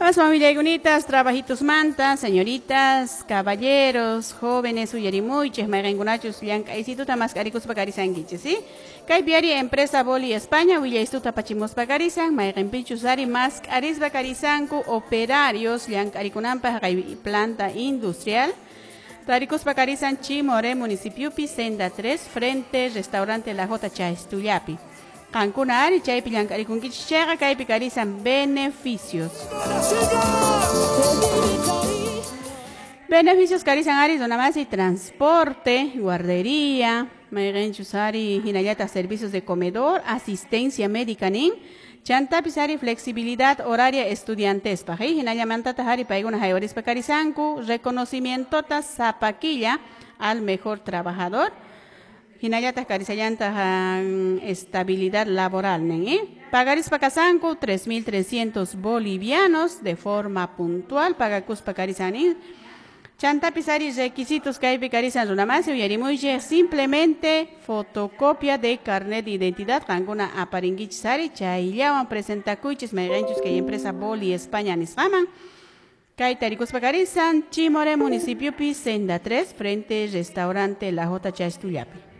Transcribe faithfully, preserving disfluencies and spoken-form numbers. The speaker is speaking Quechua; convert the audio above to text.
Aswan willaykunitas, trabajitos manta, señoritas, caballeros, jóvenes, uyarimuychis, mayqinkunachus llank'aysituta mask'arikuspa karisankichis, ¿sí? Kaypi ari empresa Boli España willaystuta apachimuspa karisan, mayqinpichus ari mask'arispa karisanku operarios llank'arikunanpaq kay planta industrial. Tarikuspa karisan Chimoré municipiopi, Senda tres, frente restaurante La J Chaistullapi. Qankuna ari chaypi llank'arikunkichis chayqa kaypi karisan beneficios. Beneficios karisan ari runamasi transporte, guardería, mayqinchus ari hinallataq servicios de comedor, asistencia médica nin, chantapis ari flexibilidad horaria estudiantespaq, eh? Hinallamantataq ari paykuna haywarispa karisanku, reconocimientota sapakilla al mejor trabajador. Hinallataq karisallantaq estabilidad laboral nin, eh? Pagarispa kasanku tres mil trescientos bolivianos de forma puntual, pagakuspa karisanin. Chantapis ari requisitos kaypi karisan runamasi uyarimuychik simplemente fotocopia de carnet de identidad qankuna aparinkichis ari chayllawan presentakuychis mayqinchus kay empresa Boli España nisqaman. Kay tarikuspa karisan Chimoré municipiopi Senda tres frente restaurante La J Chastullapi.